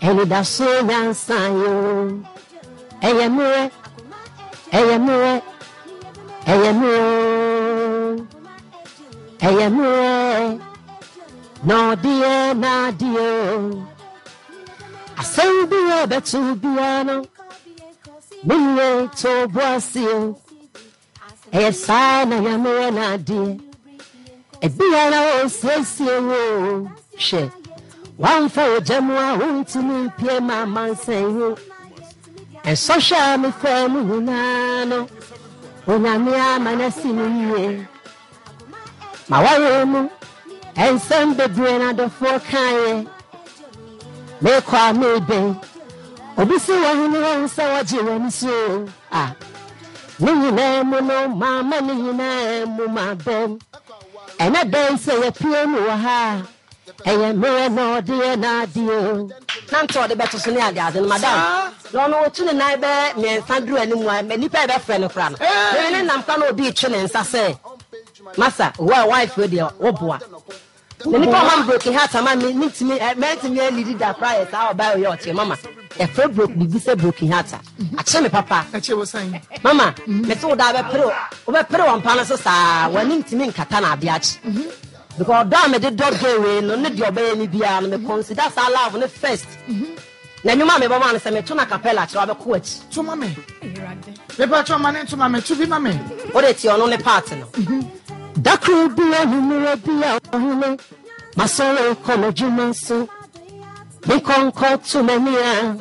Anidasoɔ nyansa yoo. Ɛyɛ mmerɛ, ɛyɛ mmerɛ, ɛyɛ mmerɛ oo. Ɛyɛ mmerɛ na ɔde yɛ n'adeɛ oo. Asɛm bi a ɛbɛto biara no, me nua to bo ase o. Ɛyɛ saa na Nyame yɛ n'adeɛ. Ebia na ɔresiesie wo o. Hwɛ, woamfa ogya mu a wontumi mpue ma amansan yi. Nsɔhwɛ a mefaa mu nyinaa no, Onyame ama no asi me yie. M'awareɛ mu nsɛm bebree na adɔfoɔ kaeɛ. Mekɔ a mebɛn, obi si wɔn ne wɔn sɛ wɔgye wɔn so. A Ne nyinaa mu no, mamma ne nyinaa mu m'abam. Ɛnyɛ dɛn sɛ yɛapue mu wɔ ha a, ɛyɛ mmerɛ na ɔde yɛ n'adeɛ o. Na nti ɔde bɛto so ne adeade no, madam. Na ɔno ɔtu ne nan bɛyɛ mmiɛnsa duru anim a, nnipa a ɛbɛfrɛ no koraa no, meme ne nam koraa na obi retwe ne nsa sɛ, Masa, wo a wife wei deɛ, woboa. Na nipa ɔma me broken heart ama me mentumi ɛ mɛntumi anidi da koraa yɛ saa ɔbaa oyɛ ɔkye mama yɛfrɛ broke biribi sɛ broken heart a akye me papa Ɛkye wo sɛn? Mama mese wo daa bɛpere wobɛpere wɔ mpa no so saa w'ani ntumi nkata na ade akye because ɔdɔ a mede dɔ gay wei no ne deɛ ɔbɛyɛ me biara no me consider saa love no first. Na nnwom a mebɔ maa no sɛ meto no acapella kyerɛ wabɛkɔ w'akyi. To ma me. Mepakyɛw ma ne nto ma me. To bi ma me. Wode tie ɔno ne part no. Da koro bi anwummerɛ bi a ɔhene masɔre kɔ m'adwuma so me nkɔnkɔ to m'ani a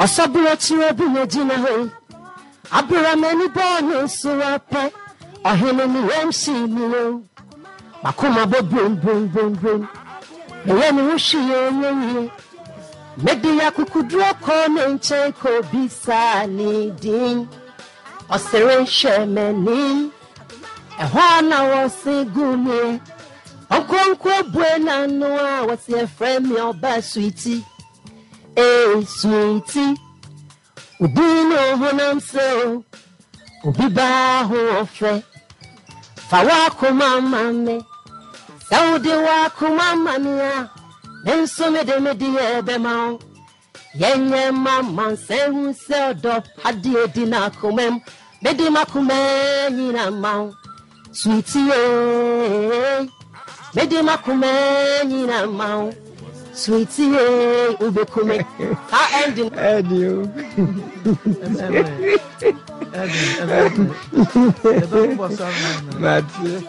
ɔsɔborɔkyerɛ bi na gyina hɔ yi abere a m'ani bɔɔ ne so apɛ ɔhene ne yam hyee me o M'akoma bɔ brim brim brim brim. Meyɛ me ho hwee ɛnyɛ yie. Mede akokoduro kɔɔ ne nkyɛn kɔbisaa ne din. Ɔsere hwɛɛ m'anim. Ɛhɔ a na wɔse gu meɛ. Ɔnkonko bue n'ano a wɔse ɛfrɛ me ɔbaa sweetie. Ee sweetie. Wo din ne wo honam sɛ o, obi baa ho ɔfɛ. Fa w'akoma ma me. Sɛ wode w'akoma ma me a, me nso mede me deɛ bɛma wo. Yɛnyɛ mma mansan hu sɛ ɔdɔ pa deɛ di n'akoma mu. Mede m'akoma nyina ma wo. Sweetie eh, mede m'akoma nyina ma wo. Sweetie eh, wobɛku me. Saa ending. Ɛdi o. Mate.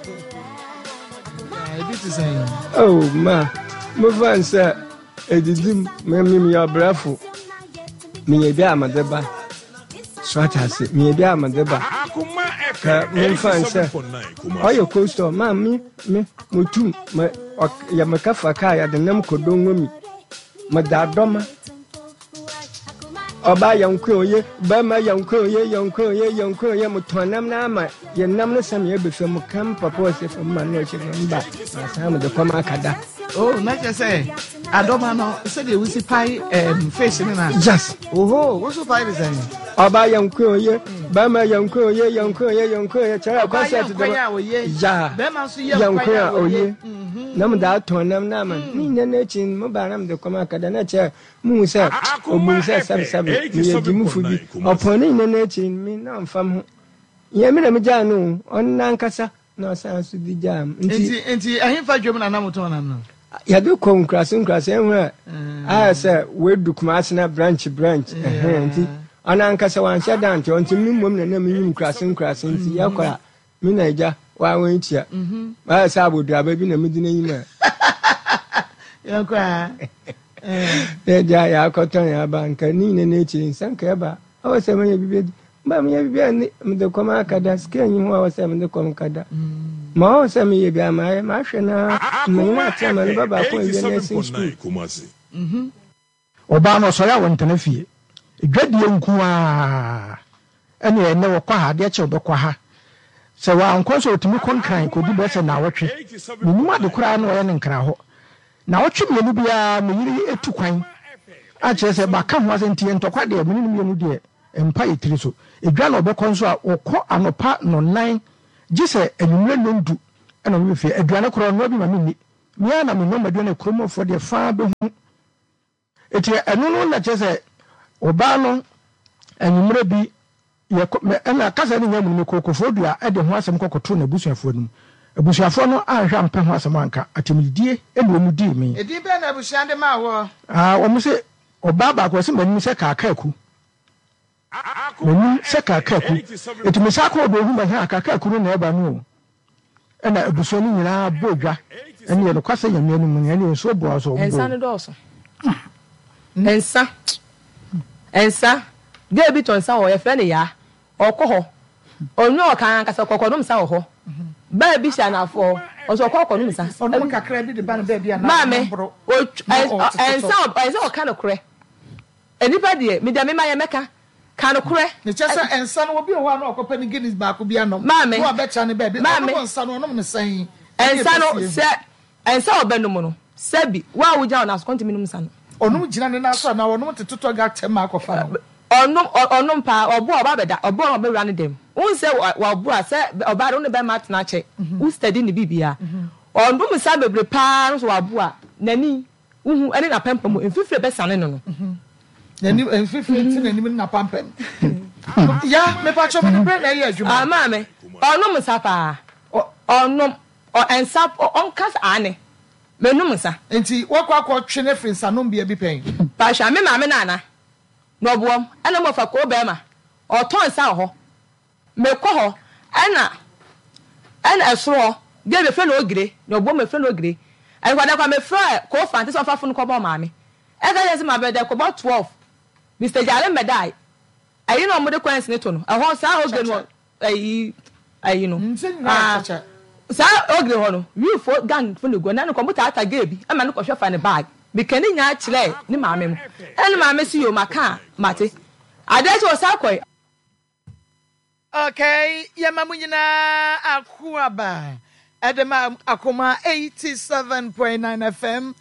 Oh ma, mo fa nsɛ edidi mu, me me meyɛ ɔbrɛfo. Meyɛ bi a mede ba. So ate ase? Meyɛ bi a mede ba. Ka memfa nsɛ ɔyɛ cold store ma me me motum me yɛ meka fa kaa yɛde nam kɔdɔ ngomi meda dɔma ɔbaa yɛ nko oye bɛrima yɛ nko oye yɛ nko oye yɛ nko oye motɔn nam na ama yɛ nam no sɛ meyɛ bɛfɛ mu kam papa ɔsɛ fam ma no ɔhyɛ fam ba masan mede kɔm akada. Oh, na kyerɛ sɛ adɔma no sɛdeɛ wosi pae um, fish no na. Yes. Oho, wo so pae ne sɛn? Ɔbaa yɛ nko oye, bɛrima yɛ nko oye, yɛ nko oye, yɛ nko oye, kyerɛ concert dɛm. Ɔbaa yɛ nkwan a oye. Ya. Bɛrima nso yɛ nkwan a oye. Mhm. Na mo da atɔn nam na ama. Ne nyinaa n'akyi mo baa na mo de kɔm akada na kyerɛ muhu sɛ obum sɛ sɛbsɛbe meyɛ gyimfo bi. Ɔpɔn ne nyinaa n'akyi me na ɔmfa me ho. Yɛ me na megyaa no o, ɔno n'ankasa na ɔsan so de gyaa me. Nti nti nti ɛhefa dwam na na motɔn nam no? Yɛde kɔ nkurase nkurase ɛho a ayɛ sɛ wɔadu Kumase na branch branch ɛhɛn nti ɔno ankasa wanhyɛ da nte ɔnti me mmom na na menyim nkurase nkurase nti yɛkɔ a me na agya waa wɔn tua ayɛ sɛ aboduaba bi na medi n'anim a yɛkɔ a na agya yɛakɔtɔn yɛn aba nka ne nyina n'akyiri nsa nka ɛba ɔwɔ sɛ meyɛ biribi adi Mba meyɛ biribi a ne mede kɔm akada, sika nyi ho a ɔwɔ sɛ mede kɔm kada. Ma ɔwɔ sɛ meyɛ bi a mayɛ, mahwɛ no ara, menye no atena ma ne ba baako awie nursing school. Ɔbaa no ɔsɔre a ɔntena fie. Dwadie nko ara. Ɛnneɛ ɛnnɛ ɔkɔ ha, adeɛ kye ɔbɛkɔ ha. Sɛ wankɔ nso a ɔtumi kɔ Nkran kɔdi bɛyɛ sɛ nnawɔtwe. Mennim ade koraa na ɔyɛ no Nkran hɔ. Nnawɔtwe mmienu biara me yere tu kwan. A kyerɛ sɛ maka ho asɛm nti ntɔkwa deɛ me ne no mmienu deɛ mpa yɛ tiri so. Edwa na ɔbɛkɔ nso a, ɔkɔ anɔpa nnɔnnan gye sɛ anwummerɛ nnɔndu na ɔbɛba fie. Aduane koraa ɔnoa bi ma menni. Me ara na menoa m'aduane a kurom hɔfoɔ deɛ faa bɛhu. Eti ɛno no na kyerɛ sɛ ɔbaa no anwummerɛ bi Yɛkɔ, me, ɛna kasa no nnya mu no, mekɔɔ Koforidua de ho asɛm kɔkɔtoo n'abusuafoɔ anim. Abusuafoɔ no anhwɛ ampɛ ho asɛm anka, atɛmdidie na wɔn dii me. Edin bɛn na abusua de maa woɔ? Ah, wɔn se, ɔbaa baako, ɔse m'anim sɛ kaakaaku. M'anim sɛ kaakaaku. Enti mesan kɔɔ do hu m'ahe a kaakaaku no na ɛba no o. Ɛna abusua no nyinaa bɔɔ dwa. Ɛneɛ nokwasɛ Nyame anim no, ɛneɛ nsuo boa so wɔn Nsa bɔɔ. no dɔɔso. Nsa. Nsa. Girl bi tɔ nsa wɔ hɔ, yɛfrɛ no Yaa. Ɔkɔ hɔ. Ɔnua ɔka ankasa, ɔkɔ kɔnom nsa wɔ hɔ. Baa bi hyɛ anafoɔ hɔ, ɔso ɔkɔ kɔnom nsa. Ɔnom kakra bi de ba no baabi a na Maame, ɔnom boro ɔtw na ɔɔtototo. nsa ɔyɛ sɛ ɔka nokorɛ. Nnipa deɛ, me deɛ mema yɛ mɛka. Ka nokorɛ. Mekyɛ sɛ nsa no obi wɔ hɔ a na ɔkɔpɛ ne Guinness baako bi anom Maame, na wabɛtra ne baabi. maame. Ɔnom nsa no ɔnom no sɛn? Ɛne Nsa no ɛbɛsie ho. sɛ nsa a ɔbɛnom no, sɛbi, wo a wogyina wo nan so, kɔntumi nom nsa no. Ɔnom gyina ne nan so anaa ɔnom te totɔ ga tɛm akɔfa no? Ɔnom, ɔnom paa, ɔbo a ɔba abɛda, ɔbo a ɔbɛwura ne dɛm. Wohu sɛ wabu a, sɛ ɔbaa de wo ne bɛrima atena akyɛ, wo steady ne biribiara. Ɔnom nsa bebree paa no nso wabu a, n'ani, wohu, ɛne n'apampam mu, mfifire bɛsane no no. N'anim, mfifire nti n'anim ne n'apampam. Ya, mepakyɛ mede berɛ na ɛyɛ adwuma. Ah, maame, ɔnom nsa paa. Ɔnom, ɔ, nsa, ɔnka sɛ aane, menom nsa. Nti woakɔ akɔtwe no afiri nsanombea bi pɛn? Pahyɛ, me maame Nana, na ɔboam, ɛna mmɔfa koo bɛɛma, ɔtɔ nsa wɔ hɔ. Mekɔ hɔ, ɛna, ɛna ɛsoro hɔ, deɛ bɛfrɛ no ogire, na ɔboam bɛfrɛ no ogire. Ɛnokwa da kor mefrɛɛ koo Fante sɛ ɔmfa fon nkɔbɔ maame. Ɛka kyerɛ no sɛ mabɛda kɔbɔ 12, Mister Gyare mmɛdae. Ɛyi na wɔde coins no to no, ɛhɔ saa ogire no wɔ ayi ayi no ah saa ogre hɔ no wifo gang fo na egu hɔ na no kɔ mo taataa gay bi ɛma no kɔhwɛ fa ne bag meka ne nyinaa kyerɛɛ ne maame mo ɛna ne maame se yoo maka a mate adeɛ kye ɔsan kɔe. Okay, yɛma mo nyinaa akwaaba ɛde ma Akoma 87.9 FM.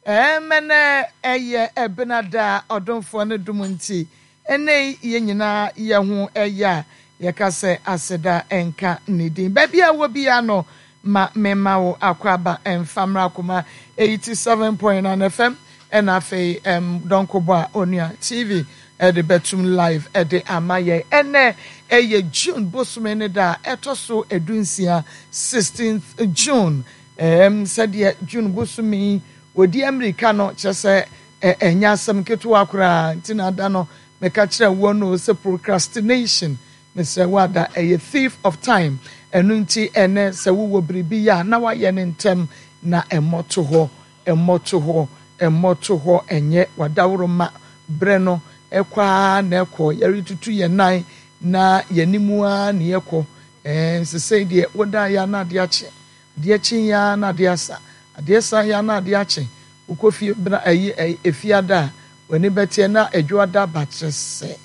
Ɛɛm ɛnɛ ɛyɛ Ɛbenada a ɔdomfoɔ no dom nti ɛnnɛ yi yɛn nyinaa yɛ ho ɛyɛ a yɛka sɛ aseda nka ne din. Baabi a wɔ biara no ma memma wo akwaaba mfa mmra Akoma 87.9 FM ɛna afei ɛm Dɔnkobɔ a Onua TV ɛde bɛtum live ɛde ama yɛn. Ɛnnɛ ɛyɛ June bosome ne da a ɛtɔ so dunsia, 16th June. Ɛɛm, sɛdeɛ June bosome yi wɔdi ammirika no, kyerɛ sɛ ɛ, ɛnyɛ asɛm ketewa koraa. Nti na da no meka kyerɛɛ woɔ no sɛ procrastination, mesrɛ wo ada, ɛyɛ thief of time. Ɛno nti ɛnnɛ sɛ wowɔ biribi yɛ a, na woayɛ no ntɛm na mmɔto hɔ, mmɔto hɔ, mmɔto hɔ, ɛnyɛ w'adaworoma berɛ no ɛkɔ ara na ɛkɔ, yɛretutu yɛn nan na yɛn anim ara na yɛkɔ. Ɛɛ, sesei deɛ wodaeɛ a na adeɛ akye. Adeɛ kye yi ara na adeɛ asa. Adeɛ sa yi ara na adeɛ akye. Wokɔ fie bena ayi ɛyi efiada a, w'ani bɛteɛ na adwoada aba kyerɛ sɛ,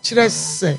kyerɛ sɛ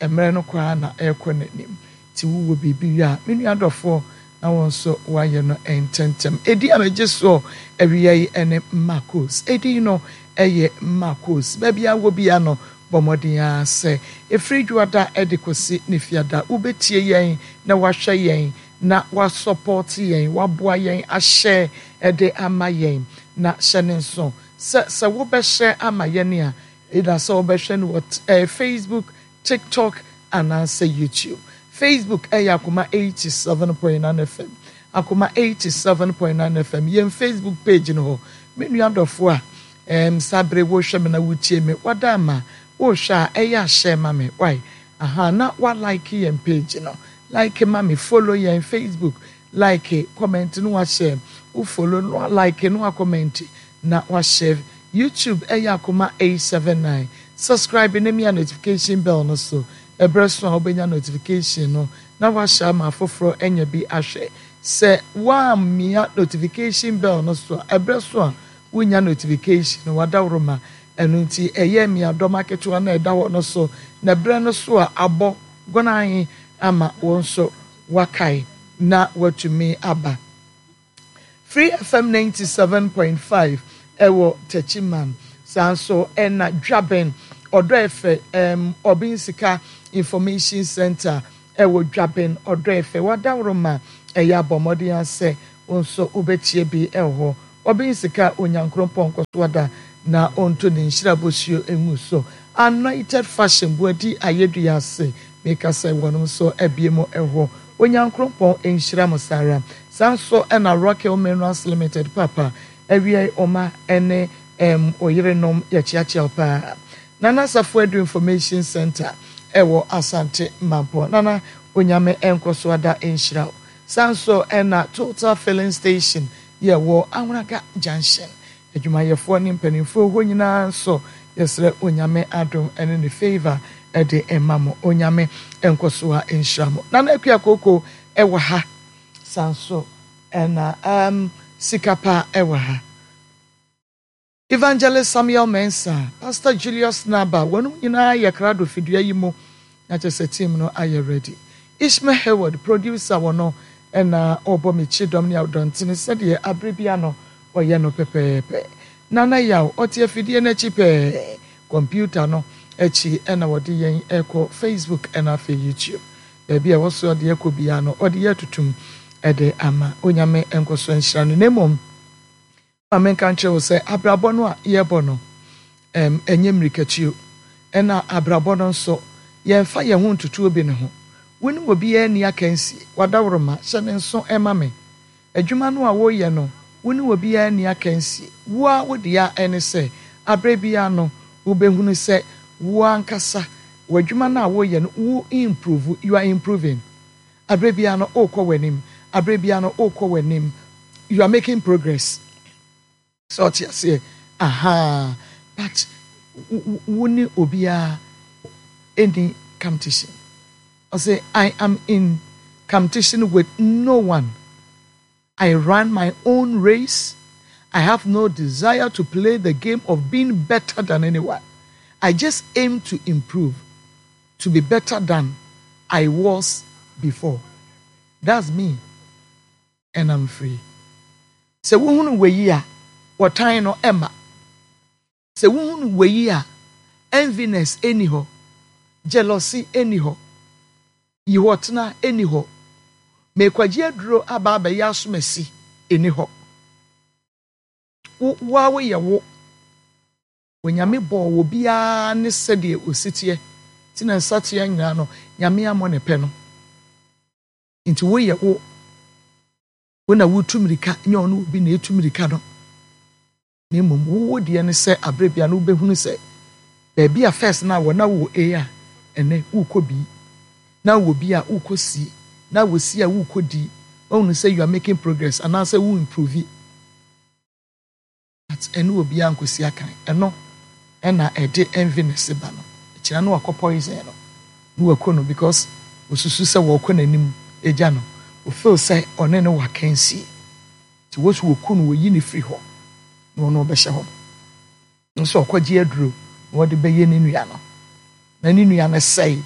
mmerɛ no kɔ ara na ɛrekɔ n'anim. Nti wowɔ biribi yɛ a, me nua dɔfoɔ, na wo nso woayɛ no ntɛntɛm. Edin a megye soɔ awia yi ne Marcos. Edin no yɛ Marcos. Baabi a wɔ biara no, Bɔ mmɔden ara sɛ ɛfiri Dwoada de kɔsi ne Fiada wobɛtie yɛn na woahwɛ yɛn na woasɔpɔɔte yɛn, woaboa yɛn ahyɛ de ama yɛn. Na hyɛ no nso sɛ, sɛ wobɛhyɛ ama yɛn a, either sɛ wobɛhwɛ no wɔ Facebook, TikTok anaasɛ YouTube. Facebook yɛ Akoma 87.9 FM. Akoma 87.9 FM, yɛn Facebook page no hɔ. Me nua dɔfoɔ a, Erm saa bere wohwɛ me na wotie me wada ama wohwɛ a ɛyɛ a share ma me wai ahaa na wa like yɛn page no like ma me follow yɛn Facebook like comment na wa share wo follow na wa like na wa comment na wa share YouTube ɛyɛ akoma 879 subscribe na mia notification bell no so ɛbrɛ so a wobɛnya notification no na wa share ama afoforɔ anya bi ahwɛ sɛ woammia notification bell no so a ɛbrɛ so a Wonnya notification no, w'adaworoma. Ɛno nti ɛyɛ mmeadɔm aketewa no a ɛda hɔ no so, na berɛ no so a abɔ gɔnann ama wo nso woakae na woatumi aba. Free FM 97.5 ɛwɔ Techiman, saa nso ɛna Dwaben, Ɔdɔ Ɛfɛ, ɛm, Ɔbensika Information Centre ɛwɔ Dwaben, Ɔdɔ Ɛfɛ, w'adaworoma ɛyɛ abɔ mmɔden ara sɛ wo nso wobɛtie bi ɛwɔ hɔ. Ɔben sika a onya nkrompɔn nkɔso ada. na ɔnto ne nhyira bosuo ngu so. Anointed Fashion Boadi Ayɛdua ase meka sɛ wɔnom nso abue mo hɔ. Onyankrompɔn nhyira mo saa ara. Saa nso na Rockhill Minerals Limited papa awiei ɔma ne ɛm oyerenom yɛkyeakyea wo paa. Nana Safo Adu Information Centre ɛwɔ Asante Mampɔn. Nana Onyame nkɔso ada nhyira wo. Saa nso na Total Filling Station yɛ wɔ Anwraga Junction. Adwumayɛfoɔ ne mpaninfoɔ hɔ nyinaa nso yɛsrɛ Onyame adom ne ne favour de mma mo. Onyame nkɔsoa nhyira mo. Nana Akua Kooko wɔ ha. Saa nso na um, Sikapa wɔ ha. Evangelist Samuel Mensah, Pastor Julius Naba, wɔnom nyinaa yɛ krado fidua yi mu na kyerɛ sɛ team no ayɛ ready. Ishmael Hayward, producer wɔ no na ɔbɔ me kyidɔm ne adɔntene sɛdeɛ abere bia no ɔyɛ no pɛpɛɛpɛ. Nana Yaw, ɔte afidie no akyi pɛɛ, computer no akyi na ɔde yɛn rekɔ Facebook na afei YouTube. Baabi a ɛwɔ so ɔde yɛkɔ biara no ɔde yɛ atutum de ama. Onyame nkɔso nhyira no na mmom Ma menka nkyerɛ wo sɛ abrabɔ no a yɛrebɔ no, ɛm, ɛnyɛ mmirikatuo. Ɛna abrabɔ no nso, yɛmfa yɛn ho ntoto obi no ho. Wo ne obiara nni akansie. W'adaworoma, hyɛ no nso ma me. Adwuma no a woreyɛ no, wo ne obiara nni akansie. Wo ara wo dea ne sɛ, aberɛ biara no, wobɛhunu sɛ wo ankasa, w'adwuma no a woreyɛ no, wo improve, you are improving. Aberɛ biara no worekɔ w'anim, aberɛ biara no worekɔ w'anim, you are making progress. Sɛ ɔte aseɛ, ahaa, but wo ne obiara ɛni competition. Ɔse, I am in competition with no one. I run my own race. I have no desire to play the game of being better than anyone. I just aim to improve, to be better than I was before. That's me and I'm free. Sɛ wohunu wei a, wɔtan no ɛma. Sɛ wohunu wei a, enviness nni hɔ, jealousy nni hɔ, yihɔtena nni hɔ, mekwagye aduro aba abɛyɛ asomasi nni hɔ. Wo, wo ara woyɛ wo. Onyame bɔɔ obiara ne sɛdeɛ ɔsi teɛ, nti na nsateaa nyinaa no, Nyame ammɔ ne pɛ no. Nti woyɛ wo. Wo na wotu mmirika, nyɛ ɔne obi na ɛtu mmirika no. Na mmom wo wo deɛ ne sɛ aberɛ biara no wobɛhunu sɛ baabi a first na wɔ na wowɔ A a ɛnɛ worekɔ B, na wowɔ B a worekɔ C, na wɔ C a worekɔ D, woahunu sɛ you are making progress anaasɛ wo improve. But ɛne obiara nkɔsi akan, ɛno ɛna ɛde enviness ba no, ɛkyina no wakɔ poison no na wako no because osusu sɛ wɔrekɔ n'anim agya no, o feel sɛ ɔne no wɔ akansie. Nti wɔ so wɔku no wɔyi no firi hɔ na ɔno ɔbɛhyɛ hɔ no nso ɔkɔgye aduro na ɔde bɛyɛ ne nua no na ne nua no sɛe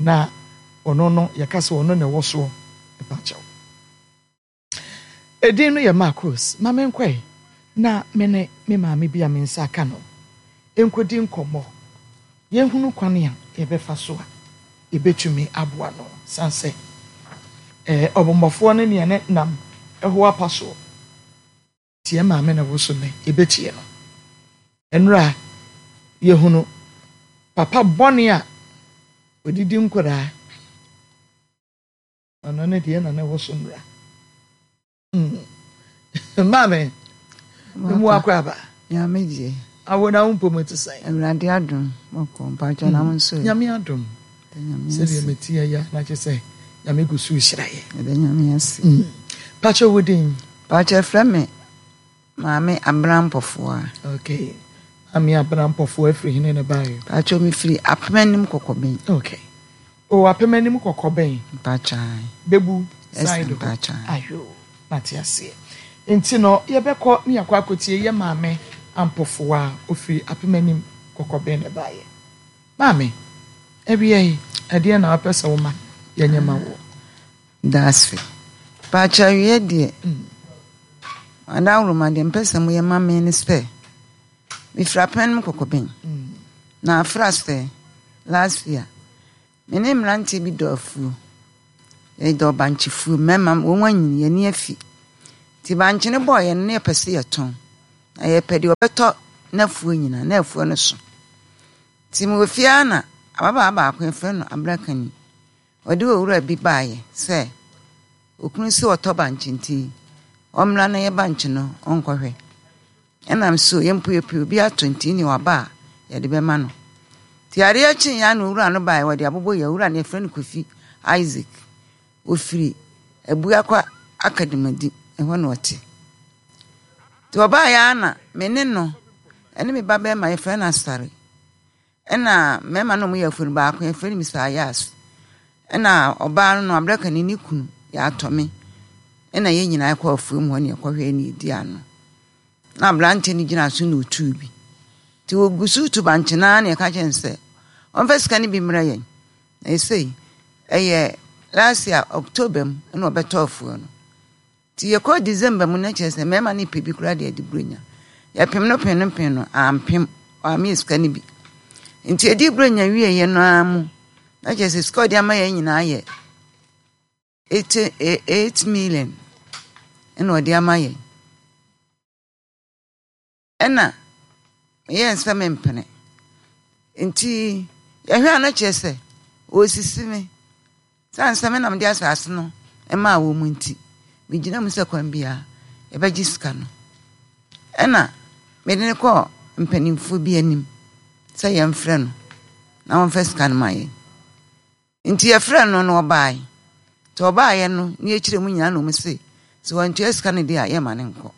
na ɔno no yɛka sɛ ɔno na ɛwɔ soɔ ɛpa kyɛw. Edin no yɛ Marcos. Ma menkɔe na me ne me maame bi a me nsa aka no nkɔdi nkɔmmɔ. Yɛnhunu kwan a yɛbɛfa so a yɛbɛtumi aboa no sane sɛ ɔbɔmmɔfoɔ no ne yɛn nam ɛho apa soɔ. Nti yɛn maame na ɛwɔ so nnɛ, yɛbɛtie no. Nnora yɛhunu papa bɔne a ɔdidi nkwadaa. Ɔno ne deɛ na na ɛwɔ so nnora. Mm. Maame, mu akɔ aba. Nyame gye. Awo na wo mpom te sɛn? Awurade adom, mɔkɔ mpakyɛ na wo nso. Nyame adom. Sɛdeɛ mete yɛ ya na kyerɛ sɛ Nyame gu so rehyira yɛ. Ɛda Nyame ase. Mm. Pakyɛ wo din? Pakyɛ frɛ me Maame Abena Mpɔfoa. Okay. Maame Abena Mpɔfoa afiri hene na baeɛ? Pakyɛ mefiri Apem Anim Kɔkɔbɛn. Okay. O Apem Anim Kɔkɔbɛn. Mpakyɛ. Bebu side hɔ. Mpakyɛ. Ayo, mate aseɛ. Nti no yɛbɛkɔ ne yɛakɔ akɔtie yɛ maame Ampɔfoa a ɔfiri Apem Anim Kɔkɔbɛn na ɛbaeɛ. Maame, awia yi, ɛdeɛn na wopɛ sɛ woma yɛnyɛ ma woɔ? Dase. Pakyɛ awiɛ deɛ, adawroma deɛ mpɛ sɛ moyɛ ma me ne sɛ, mefiri apɛn mu kɔkɔbɛn, na afra sɛ last year, me ne mmeranteɛ bi dɔ afuo, yɛdɔ bankye fuo, mmarima wɔn anyini, yɛn ani afi. Nti bankye no bɔɔ yɛn no na yɛpɛ sɛ yɛtɔn, na yɛpɛ deɛ ɔbɛtɔ. n'afuo nyinaa, na afuo no so. Nti mewɔ fie ara na ababaawa baako yɛfrɛ no Abrakani, ɔde owura bi baeɛ sɛ okunu se ɔtɔ bankye nti ɔmmra na yɛ bankye no ɔnkɔhwɛ. Ɛna me so yɛn mpo yɛpɛ obi ato nti ne waba a yɛde bɛma no. Nti adeɛ kyeeɛ ara na owura no baeɛ wɔde abobɔ yɛ owura no yɛfrɛ no Kofi Isaac. Ɔfiri Abuakwa Akademadi ɛhɔ na ɔte. Nti ɔbaeɛ ara na me ne no ɛne me ba bɛrima yɛfrɛ no Asare ɛna mmarima no a wɔyɛ afuo no baako yɛfrɛ no Mr. Ayas ɛna ɔbaa no no Abrakani ne kunu yɛatɔ me ɛna yɛn nyinaa kɔ afuo mu hɔ ne yɛkɔhwɛ ne yɛdi ano. Na aberanteɛ no gyina so na ɔtuu bi. Nti wɔgu so tu bankye no ara na yɛka kyerɛ no sɛ ɔmfa sika no bi mmrɛ yɛn. Na ɛsei ɛyɛ last year October mu na ɔbɛtɔ afuo no. Nti yɛkɔɔ December mu na kyerɛ sɛ mmarima no pɛ bi koraa de adi Buronya. Yɛpem no pem no pem no ampem, wammeyɛ sika no bi. Nti yɛdii Buronya wieeɛ no ara mu na kyerɛ sɛ sika a ɔde ama yɛn nyinaa yɛ 8 million ɛna ɔde ama yɛn. Ɛna meyɛɛ sɛ mempene. Nti yɛhwɛ a na kyerɛ sɛ wɔresisi me. Sane sɛ me na mede asase no maa wɔn nti, megyina mu sɛ kwan biara yɛbɛgye sika no. Ɛna mede no kɔɔ mpanimfoɔ bi anim sɛ yɛmfrɛ no na wɔmfa sika no ma yɛn. Nti yɛfrɛɛ no no ɔbaae. Nti ɔbaaeɛ no ne yɛkyerɛ mu nyinaa na ɔmo se sɛ wantua sika no deɛ a yɛmma no nkɔ.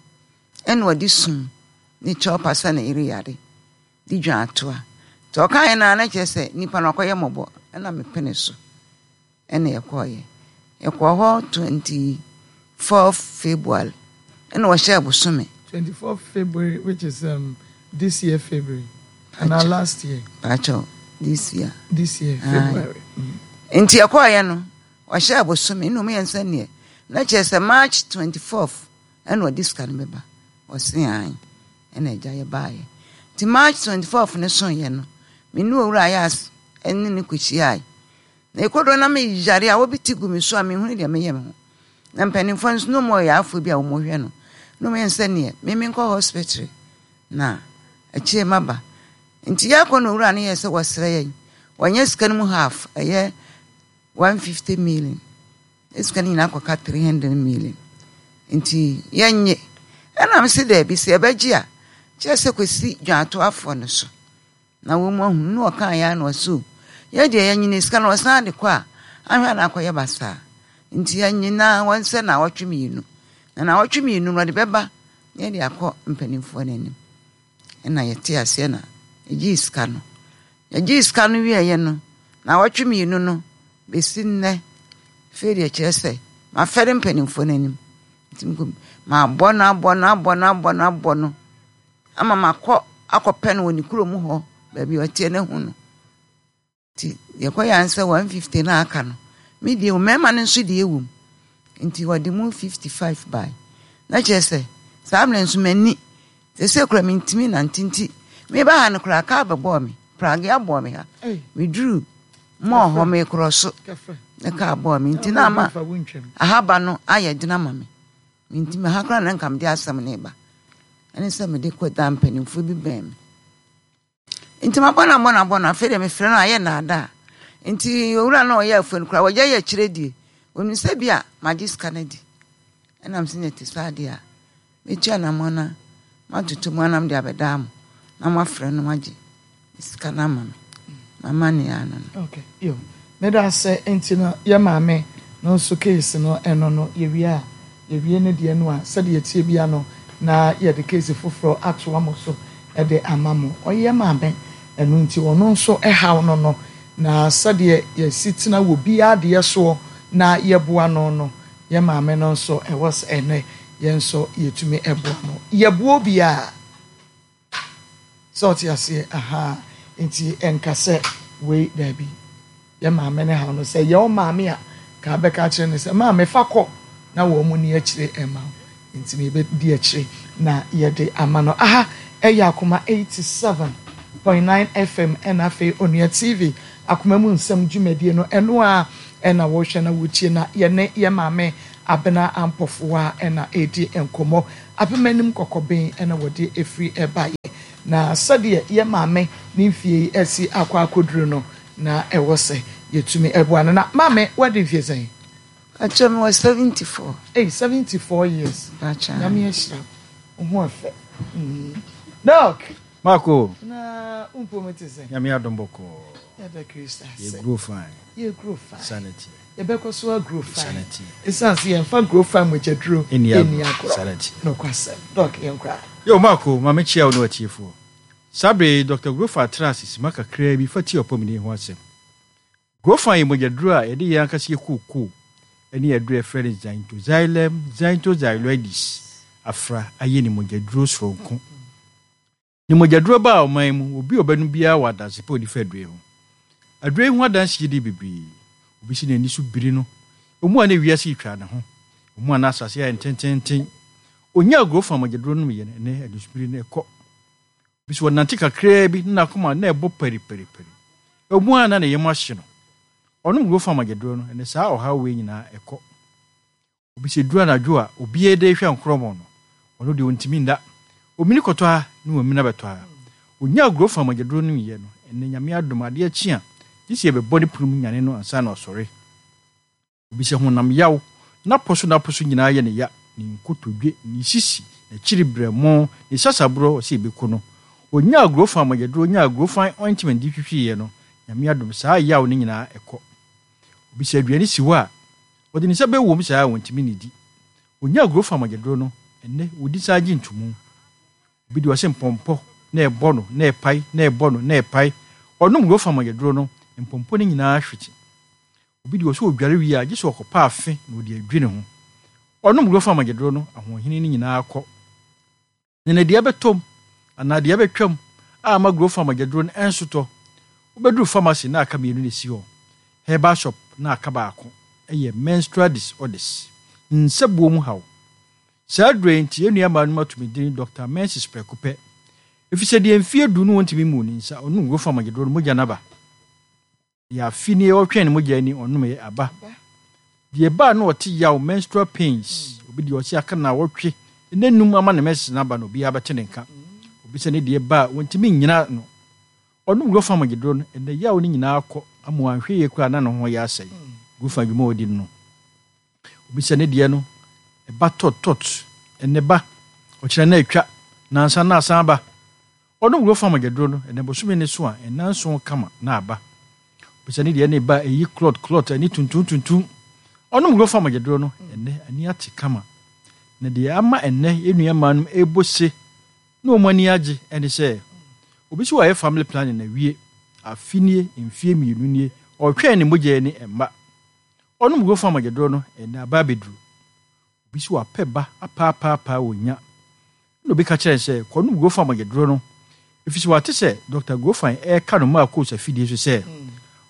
Ɛna ɔde sum ne kyɛw pa sɛ ne yere yare de dwan atoa. Nti ɔkaeɛ no ara na kyerɛ sɛ nipa no wakɔyɛ mmɔbɔ ɛna mepene so ɛna yɛkɔeɛ. Yɛkɔɔ hɔ 24 February ɛna ɔhyɛɛ bosome. 24 February which is um, this year February anaa last year. Pakyɛw this year. This year February. Nti ɛkɔɔyɛ no ɔhyɛ abosome na ɔmo yɛ nsɛ neɛ na kyerɛ sɛ March 24th ɛna ɔde sika no bɛba ɔse ae ɛna agya yɛ baayɛ nti March 24th no so yɛ no me ne owura ayɛ as ɛne ne kɔhyiae na ɛkɔdɔ na meyare a wɔbi ti gu me so a menhunu deɛ meyɛ me ho na mpanimfoɔ nso na ɔmo yɛ afoɔ bi a wɔn hwɛ no na ɔmo yɛ nsɛ neɛ me menkɔ hospital Na akyire maba. Nti yɛkɔ na owura no yɛɛ sɛ wɔsrɛ yɛn. Wɔnyɛ sika no mu half, ɛyɛ 150 million. Ne sika no nyinaa kɔka 300 million. Nti yɛnnye. Ɛna mese daabi, sɛ yɛbɛgye a, kyerɛ sɛ kɔsi dwantoafoɔ no so. Na wɔn ahunu na ɔkaa yɛ na ɔse o, yɛ deɛ yɛnyini sika no ɔsan de kɔ a, ahwɛ a na akɔyɛ basaa. Nti yɛnye na wɔnsɛ naawɔtwe mmienu. Na naawɔtwe mmienu no ɔde bɛba na yɛde akɔ mpanimfoɔ no anim. Ɛna yɛte aseɛ na yɛgyee sika no. Yɛgyee sika no wieeɛ no, naawɔtwe mmienu no bɛsi nnɛ, afei deɛ kyerɛ sɛ mafɛre mpanimfoɔ no anim. Nti mabɔ no abɔ no abɔ no abɔ no abɔ no ama makɔ akɔpɛ no wɔ ne kurom hɔ baabi a ɔteɛ no ahu no. Nti yɛkɔyɛ ansa 150 no a aka no, me deɛ mmarima no nso deɛ wɔ mu. Nti wɔde mu 55 bae. Na kyerɛ sɛ saa mmerɛ nso m'ani sɛsɛ kora mentumi nante nti meba ha no koraa kaa bɛbɔɔ me pragea bɔɔ me ha meduru mɔɔ hɔ mekorɔ so ne kaa bɔɔ me nti na ama ahaba no ayɛ dena ma me mentumi ha koraa na nka mede asɛm no ba ɛne sɛ mede kɔ da mpanimfoɔ bi bɛn me Nti mabɔ no abɔ no abɔ no, afei deɛ mefrɛ no a ayɛ nnaadaa. Nti owura no a ɔyɛ afuo no koraa wagya yɛ akyire die. Onim sɛ bi a magye sika no adi. Ɛna mese na ɛte saa deɛ a, mɛtu anammɔn na matoto mu anam de abɛdaa mo na moafrɛ no magye sika no ama me. M'amanneɛ ano no. Okay, yo. Meda ase nti no yɛ maame no nso case no ɛno no yɛwie a yɛwie ne deɛ no a sɛdeɛ ɛteɛ bia no na yɛde case foforɔ atoa mo so de ama mo. Ɔyɛ maame ɛno nti ɔno nso ɛhaw no no na sɛdeɛ yɛsi tena wɔ biara deɛ soɔ na yɛboa no no yɛ maame no nso ɛwɔ sɛ ɛnɛ yɛn nso yɛtumi ɛboa no. Yɛboa obiara. Sɛ ɔte aseɛ ahaa nti ɛnka sɛ wei daabi yɛ maame ne haw no sɛ yɛ wo maame a ka bɛka akyerɛ no sɛ maame fa kɔ na wɔn mu ni akyire ɛma wo nti na yɛbɛdi akyire na yɛde ama no aha ɛyɛ akoma 87.9 FM ɛna afei Onua TV akoma mu nsɛm dwumadie no ɛno a ɛna wɔhwɛ na wɔtie na yɛne yɛ maame Abena Ampɔfoa ɛna ɛredi nkɔmmɔ. Apem anim kɔkɔben na wɔde firi baeɛ. Na sɛdeɛ yɛn maame ne mfie yi asi akɔ akɔduru no, na ɛwɔ sɛ yɛtumi boa no. Na maame, woadi mfie sɛn? Pakyɛ mewɔ 74. Ei, 74 years. Pakyɛ. Nyame ahyira wo. Wo ho ɛfɛ. Mm. Doc. Marco. Na wo mpom te sɛn? Nyame adom bɔkɔɔ. Yɛda Kristo ase. Yɛ grow fine. Yɛ grow fine. Sanity. Yɛbɛkɔ so a grow fine. Esiane sɛ yɛmfa grow fine mogyaduro nni agorɔ. Sanity. Nokwasɛm. Doc, yɛnkɔ a. Yo, Marco, ma mekyia wo ne w'atiefoɔ. Saa berɛ yi, Dɔkta Grofa traa ase simma kakraa bi fa tiaa ɔpɔmuden ho asɛm. Grofa yɛ mogyaduro a yɛde yɛn ankasa yɛ kookoo ne aduro a yɛfrɛ no Xanthoxylum xanthoxyloides afra ayɛ ne mogyaduro soronko. Ne mogyaduro baa ɔman yi mu, obi a ɔbɛnom biara wɔ adanse pa a ɔdi fa aduro yi ho. Aduro yi ho adanse yɛ bebree. Obi si n'ani so biri no, emu a na wiase retwa ne ho, emu a na asase ayɛ ntententen. Onyaa Grofa mogyaduro nomyɛ no, ɛnnɛ anisobiri no ɛkɔ. Obi so ɔnante kakraa bi na n'akoma na ɛbɔ pariparipari. Ɛwɔ mu ara na ne yam ahye no. Ɔnom Grofa mogyaduro no, ɛnnɛ saa ɔhaw wei nyinaa ɛkɔ. Obi sɛ duru anadwo a obiara de rehwɛ nkorɔmɔ no, ɔno deɛ ɔntumi nna. Omini kɔtɔ ha na wamini abɛtɔ ha. Ɔnyaa Grofa mogyaduro no yɛ no, ɛnnɛ Nyame adom adeɛ kye a, gye sɛ yɛbɛbɔ ne pono mu nyane no ansa na wasɔre. Obi sɛ honam yaw, n'apɔ so n'apɔ so nyinaa yɛ ne ya, ne nkotodwe, ne sisi, n'akyiri berɛmo, ne sasaborɔ, ɔsɛ yɛbɛku no. Ɔnyaa Grofa mogyaduro, ɔnyaa Grofa ointment de twitwiiɛ no, Nyame adom saa yaw no nyinaa ɛkɔ. Obi sɛ aduane si hɔ a, ɔde ne nsa bɛwom saa a ɔntumi nnidi. Ɔnyaa Grofa mogyaduro no, ɛnnɛ ɔdi saa gye ntomu. Obi deɛ ɔse mpɔmpɔ na ɛbɔ no na ɛpae na ɛbɔ no na ɛpae. Ɔnom Grofa mogyaduro no, mpɔmpɔ no nyinaa hwete. Obi deɛ ɔse ɔdware wie a, gye sɛ ɔkɔpa afe na ɔde adwi ne ho. Ɔnom Grofa mogyaduro no, ahoɔhene no nyinaa kɔ. Na na dua bɛtɔ mu anaa dua bɛtwam a ama Grofa mogyaduro no ɛnsotɔ. Wobɛduru pharmacy na aka mmienu na ɛsi hɔ, herbal shop na aka baako. Ɛyɛ menstrual disorders, nsabuo mu haw. Saa aduro yi nti yɛn nua mmaa nom ato me din Doctor Menses prɛko pɛ. Efisɛ deɛ mfeɛ du no wɔntumi mmuu ne nsa, ɔnom Grofa mogyaduro no mogya no aba. Deɛ afe nie ɔretwɛn ne mogya ani ɔnomeɛ aba. Deɛ ɛbaa no ɔte yaw, menstrual pains, obi deɛ ɔse aka naawɔtwe ne num ama ne menses no aba no obiara bɛte ne nka. Obi sɛ ne deɛ ba a ɔntumi nnyina ano. Ɔnom Grofa mogyaduro no ɛnɛ yaw no nyinaa kɔ ama wanhwɛ yie koraa na ne ho yɛ asɛe. Grofa adwuma a ɔdi no no. Obi sɛ ne deɛ no ɛba tɔt tɔt, ɛnɛ ba, ɔkyena na atwa, nansa na asan aba. Ɔnom wura fam agyaduro no, ɛnɛ bosome ne so a, nnanson kama na aba. Bisa ne deɛ ne ba ɛyi klɔt klɔt ani tuntum tuntum. Ɔnom wura fam agyaduro no, ɛnɛ ani ate kama. Na deɛ ama ɛnɛ yɛn nua mmaa nom ɛrebɔ se na wɔn ani agye ɛne sɛ, obi so wayɛ family planning awie, afe nie, mfie mmienu nie, ɔretwɛn ne mogya ani ɛmma. Ɔnom wura fam agyaduro no, ɛnɛ aba abɛduru. Obi so wapɛ ba apaapaapaa ɔnnya. Ɛnna obi ka kyerɛɛ no sɛ, Kɔnom Grofan mogyaduro no, efisɛ wate sɛ Dɔkta Grofan reka no Marcos afidie so sɛ,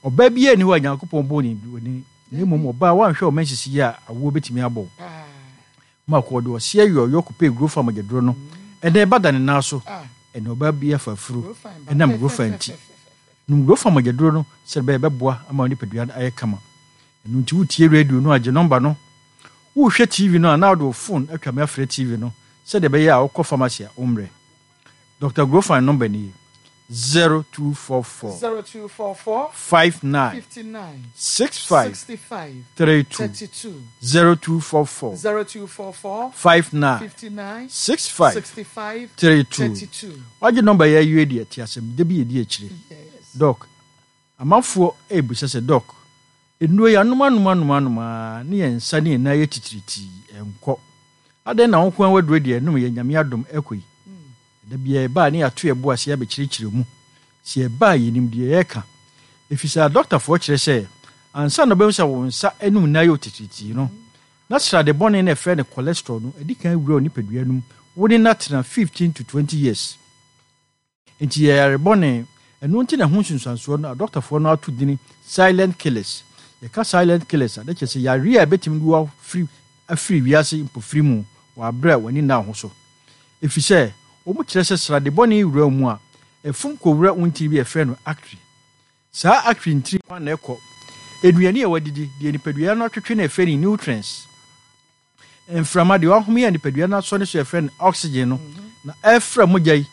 Ɔbaa biara nni hɔ a Nyankopɔn bɔɔ no onini, na mmom ɔbaa a wanhwɛ wo menses yie a awoɔ bɛtumi abɔ wo. Marco ɔde ɔseɛ yɔɔyɔ kɔpɛɛ Grofan mogyaduro no. Ɛnnɛ ɛba da ne nan so. Ɛnnɛ ɔbaa bi afa afuro ɛnam Grofan nti. Nom Grofan mogyaduro no sɛdeɛ ɛbɛyɛ ɛbɛboa ama wo nipadua no ayɛ kama. Ɛno nti wotie radio no a, gye nɔmba no. Worehwɛ TV no a, na wode wo fon atwa me afrɛ TV no sɛdeɛ ɛbɛyɛ a wokɔ pharmacy a wommrɛ. Dɔkta Grofan nɔmba nie, 0244 0244 59 59 65 65 32. 32 0244 0244 59 59 65 65 32. 32. Wagye nɔmba yi awie deɛ, te asɛm da bi ɛdi akyire. Yes. Dɔk, Amanfoɔ rebisa sɛ, Dɔk, nnuro yi anom anom anom anom ara ne yɛn nsa ne yɛn nan yɛ titiritii, ɛnkɔ. Adɛn na wo nko ara w'aduro deɛ ɛnom yɛ Nyame adom ɛkɔ yi? Da biara yɛba a ne yɛato yɛn bo ase abɛkyerɛkyerɛ mu. Sɛ yɛba a yɛnim deɛ yɛreka. Ɛfiri sɛ adɔktafoɔ kyerɛ sɛ ansa na wobɛhu sɛ wo nsa ne wo nan ayɛ wo titiritii no, na srade bɔne no a yɛfrɛ no cholesterol no adi kan awura wo nipadua no mu, wo ne no atena 15 to 20 years. Enti yɛ yare bɔne. Ɛno nti na ɛho nsunsuansoɔ no adɔktafoɔ no ato dini silent killers. Yɛka silent killers a, na kyerɛ sɛ yareɛ a ɛbɛtumi de wo afiri afiri wiase mpofiri mu wɔ aberɛ a w'ani nna wo ho so. Ɛfiri sɛ wɔn kyerɛ sɛ srade bɔne wura wo mu a, ɛfom kɔwura wo ntini bi a yɛfrɛ no artery. Saa artery ntini kwan na ɛkɔ nnuane a wadidi, deɛ nipadua no atwetwe no a yɛfrɛ no nutrients. Mframa, deɛ wahome a nipadua no asɔ ne so a yɛfrɛ no oxygen no, na ɛfra mogya yi.